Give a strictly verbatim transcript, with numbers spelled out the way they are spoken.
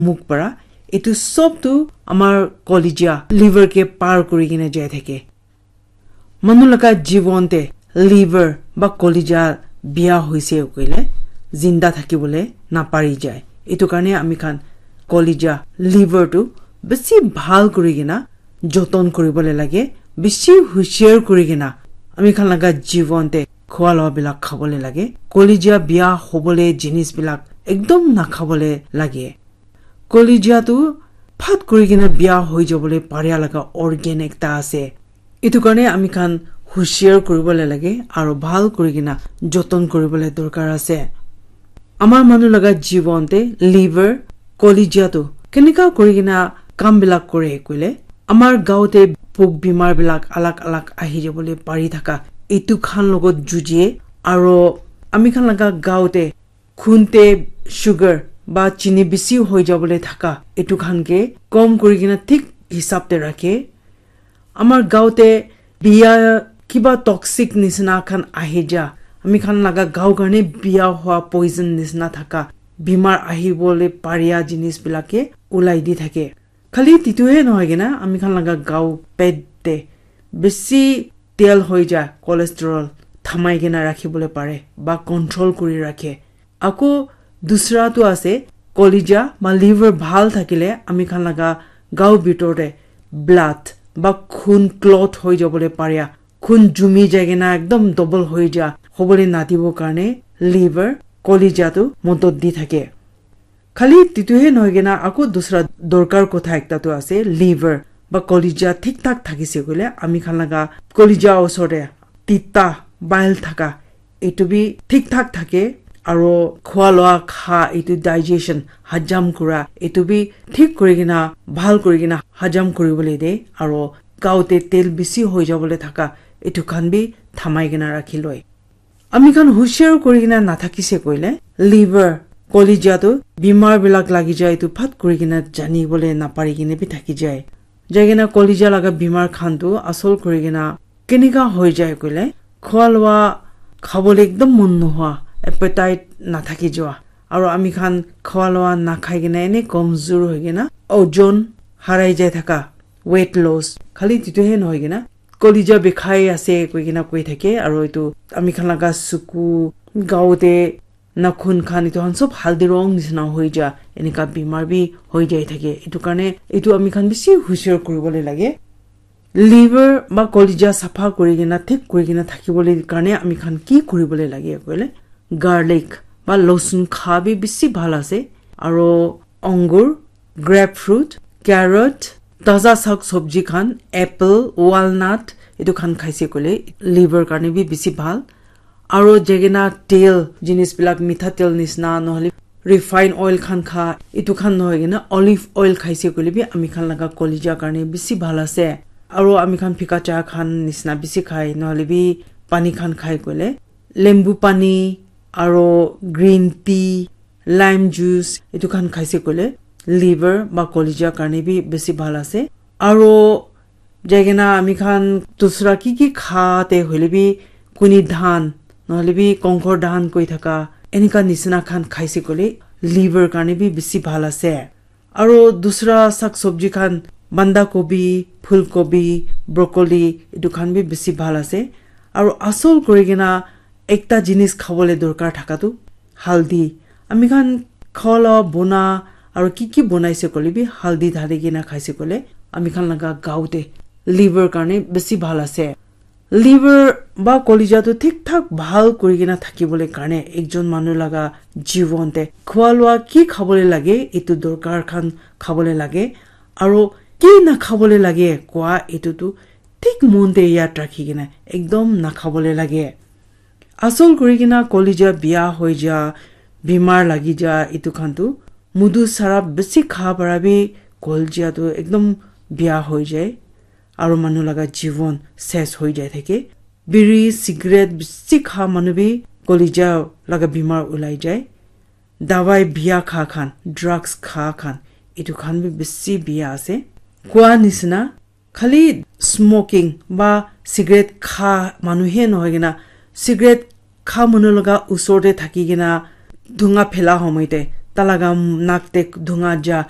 mukh para, etu sob tu amar collegia, liver ke par kuri kena jai thake. Manu laga jibon te liver ba collegia biya hoise koile, zinda thakibole napari jai. Etu karne ami khan collegia, liver tu besi bhal kuri kena joton kuribole lage, besi hushiar kuri kena ami khan laga jibon te khua loa bilak khabole lage. Collegia biya hobole jinis bilak ekdom nakhabole lage. Collegia tu phat kuri kena biya hoi jabole paria laga organ ekta ase. Etu karne ami khan hushiar kuribole lage aro bhal kuri kena joton kuribole dorkar ase. Amar manu laga jibon te liver, collegia tu kenika kuri kena kam bilak kore koile, amar gaon te pok bimar bilak alag alag ahi jabole pari thaka, etu khan logot jujie aro ami khan laga gaon te khun te sugar ba chini bisi hoi jabole thaka, etu khan ke kom kuri kena thik hisab te rakhe. Amar gaon te biya kiba toxic nisina khan ahi ja, ami khan laga gaon karne biya hua poison nisina thaka bimar ahibole paria jinis bilak ke ulai di thake. Khali titu he nohoi kena ami khan laga gaon pet te besi tel hoi ja, cholesterol thamai kena rakhibole pare ba control kuri rakhe. Ako dusra tu ase, collegia ma liver bhal thakile ami khan laga gaon bitor te blood ba khun clot hoi jabole paria, khun jumi jai kena ekdom double hoi ja hobole nadibo karne liver, collegia tu modot di thake. Khali titu he nohoi kena ako dusra dorkar kotha ekta tu ase, liver ba collegia thik thak thakise koile ami khan laga collegia osor te tita bile thaka, etu bi thik thak thake aro khua loa kha, etu digestion, hajam kura, etu bi thik kuri kena bhal kuri kena hajam kuribole de aro gaon te tel bisi hoi jabole thaka, etu khan bi thamai kena rakhi loi. Ami khan hushiar kuri kena nathakise koile, liver, collegia tu bimar bilak lagi jai, etu phat kuri kena jani bole napari kena bi thaki jai. Jai kena collegia laga bimar khan tu asol kuri kena kenika hoi jai koile, khua loa khabole ekdom mon nohua, appetite nathaki joa. Aro ami khan khua loa nakhai kena ene komzur hoi kena ojon harai jai thaka, weight loss. Khali titu he nohoi kena collegia bikhai ase koi kena koi thake, aro etu ami khan laga suku, gaon te nakhun khan etu khan sob haldi rong nisina hoi ja, enika bimar bi hoi jai thake. Etu karne etu ami khan bisi hushiar kuribole lage. Liver ba collegia sapha kuri kena thik kuri kena thakibole karne ami khan ki kuribole lage koile, garlic ba losun kha bi bisi bhal ase, aro angur, grapefruit, carrot, taza sak sabji khan, apple, walnut, etu khan khaise koile liver karne bi bisi bhal. Aro jai kena tel, jinis bilak mitha tel nisna nohole refined oil khan kha, etu khan nohoi kena olive oil khaise koile bi ami khan laga collegia karne bisi bhal ase. Aro ami khan phika cha khan nisna bisi khai, nohole bi pani khan khai koile lembu pani, aro green tea, lime juice, etu khan khaise koile liver ba collegia karne bi bisi bhal ase. Aro jai kena ami khan dusra ki ki kha te hoile bi kuni dhan, nohole bi kongkor dhan koi thaka, enika nisina khan khaise koile liver karne bi bisi bhal ase. Aro dusra sak sabji khan, banda kobi, phul kobi, broccoli, etu khan bi bisi bhal ase. Aro asol kuri kena ekta jinis khabole dorkar thaka tu haldi. Ami khan khua la bona aro ki ki bonaise koile bi haldi dhali kena khaise koile ami khan laga gaon te liver karne bisi bhal ase. Liver ba colleague tu thik thak bhal kuri kena thakibole karne ekjon manu laga jibon te khua lua ki khabole lage, etu dorkar khan khabole lage, aro ki nakhabole lage koa etu tu thik mon te yaad rakhi kena ekdom nakhabole lage. Asol kuri kena colleague bia hoi ja, bimar lagi ja, etu khan tu mudu sarap besi kha para bi colleague tu ekdom bia hoi jai. Aro manu laga jibon ses hoi jai thake. Biri, cigarette bisi kha manu bi colleague laga bimar ulai jai. Dawai bia kha khan, drugs kha khan, etu khan bi bisi bia ase. Koa nisina, khali smoking ba cigarette kha manu he nohoi kena, cigarette kha manu laga usor te thaki kena dhunga phela homoi te, laga nak te dhunga ja